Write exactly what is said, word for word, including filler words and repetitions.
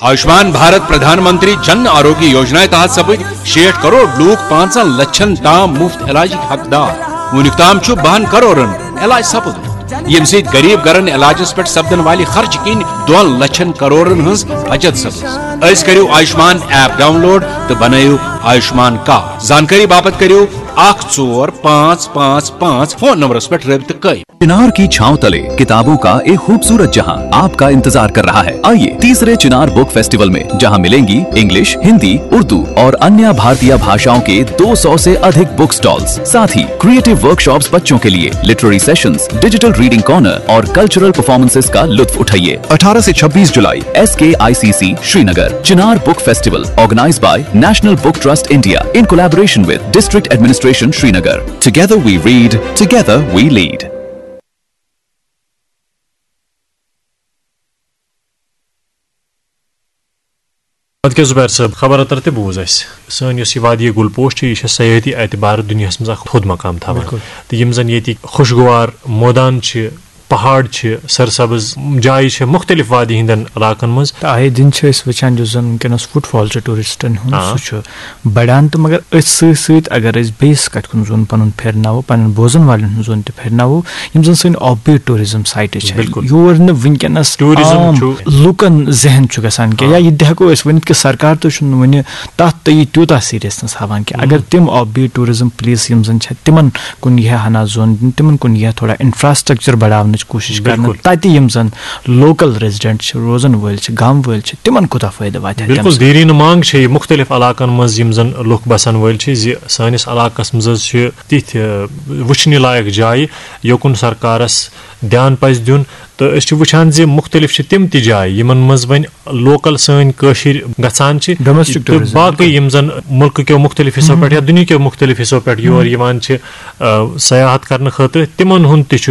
آیوشمان بھارت پردھان منتری جن آروگیہ یوجنا تحت سپد شیٹھ کروڑ لوک پانژن لچھن تام مفت علاجک حقدار۔ وُنیُک تام چھُ بہن کروڑن علاج سپدمُت، ییٚمہِ سۭتۍ غریب گرن علاجس پٮ۪ٹھ سپدن والہِ خرچہٕ کِنۍ دۄن لچھن کروڑن ہٕنٛز بچت سپٕز۔ أزۍ کٔرِو آیوشمان ایپ ڈاؤن لوڈ تہٕ بنٲیِو آیوشمان کارڈ۔ زانکٲری باپتھ کٔرِو اکھ ژور پانٛژھ پانٛژھ پانٛژھ فون نمبرس پٮ۪ٹھ رٲبطہٕ قٲیِم۔ चिनार की छांव तले किताबों का एक खूबसूरत जहां आपका इंतजार कर रहा है। आइए, तीसरे चिनार बुक फेस्टिवल में, जहां मिलेंगी इंग्लिश, हिंदी, उर्दू और अन्य भारतीय भाषाओं के दो सौ से अधिक बुक स्टॉल्स, साथ ही क्रिएटिव वर्कशॉप्स बच्चों के लिए, literary sessions, digital reading corner और कल्चरल परफॉर्मेंसेस का लुत्फ उठाइए। अठारह से छब्बीस जुलाई, S K I C C Srinagar. Chinar book festival, organized by National Book Trust India in collaboration with District Administration Srinagar. Together we read, together we lead. اَدٕ کیٛاہ زُبیر صٲب، خبر اتر تہِ بوٗز اَسہِ۔ سٲنۍ یۄس یہِ وادی گُل پوش چھِ، یہِ چھےٚ سیاحتی اعتبار دُنیاہَس منٛز اکھ تھوٚد مقام تھاوان۔ بِلکُل۔ تہٕ یِم زَن ییٚتِکۍ خۄشگوار مٲدان چھِ، پہاڑ چھِ، سرسبز جایہِ چھِ مُختٔلِف وادی ہٕنٛدٮ۪ن علاقن منٛز۔ تہٕ آیے دِن چھِ أسۍ وٕچھان، یُس زَن وٕنکیٚنَس فُٹ فال چھُ ٹوٗرِسٹَن ہُنٛد، آ۔ سُہ چھُ بَڑان۔ تہٕ مگر أتھۍ سۭتۍ سۭتۍ اگر أسۍ بیٚیِس کَتھِ کُن زوٚن پَنُن پھِرناوو، پَنُن بوزَن والٮ۪ن ہُنٛد زوٚن تہِ پھِرناوو، یِم زَن سٲنۍ آف بیٖٹ ٹوٗرِزم سایٹہٕ چھِ، بِلکُل۔ یور نہٕ وٕنکیٚنَس ٹوٗرِزم عام چھُ۔ لُکَن ذہن چھُ گژھان کینٛہہ، آ۔ یا یہِ تہِ ہٮ۪کو أسۍ ؤنِتھ کہِ سرکار تہِ چھُنہٕ وٕنہِ تَتھ تہٕ یہِ تیوٗتاہ سیٖریَسنَس ہاوان کینٛہہ۔ اگر مم۔ تِم آف بیٖٹ ٹوٗرِزم پلیس یِم زَن چھِ، تِمَن کُن یی ہا ہنا زوٚن دِنہٕ، تِمَن کُن یی ہا تھوڑا انفراسٹرکچر بڑاونٕچ کوٗشِش کرنہٕ، بِلکُل۔ تَتہِ یِم زَن لوکل ریزیڈنٹ چھِ، روزَن وٲلۍ چھِ، گام وٲلۍ چھِ، تِمَن کوٗتاہ فٲیدٕ واتہِ ہا تَمہِ بِلکُل، سۭتۍ؟ دیٖرینہٕ مانگ چھےٚ یہِ مُختٔلِف علاقن منٛز یِم زَن لُکھ بَسَن وٲلۍ چھِ، زِ سٲنِس علاقَس منٛز حظ چھِ تِتھۍ، آ، وٕچھنہِ لایق جایہِ، یوکُن سرکارَس دھیان پَزِ دیُن۔ تہٕ أسۍ چھِ وٕچھان زِ مُختٔلِف چھِ تِم تہِ جایہِ، یِمَن منٛز وۄنۍ لوکل سٲنۍ کٲشِرۍ گژھان چھِ، ڈومیسٹک تہٕ ٹوٗرِزم، باقٕے بِلکُل۔ یِم زَن مُلکہٕ کیو مُختٔلِف حِصو پٮ۪ٹھ یا دُنیا کیو مُختٔلِف حِصو پٮ۪ٹھ یور یِوان چھِ، آ، سیاحت کرنہٕ خٲطرٕ، تِمَن ہُنٛد تہِ چھُ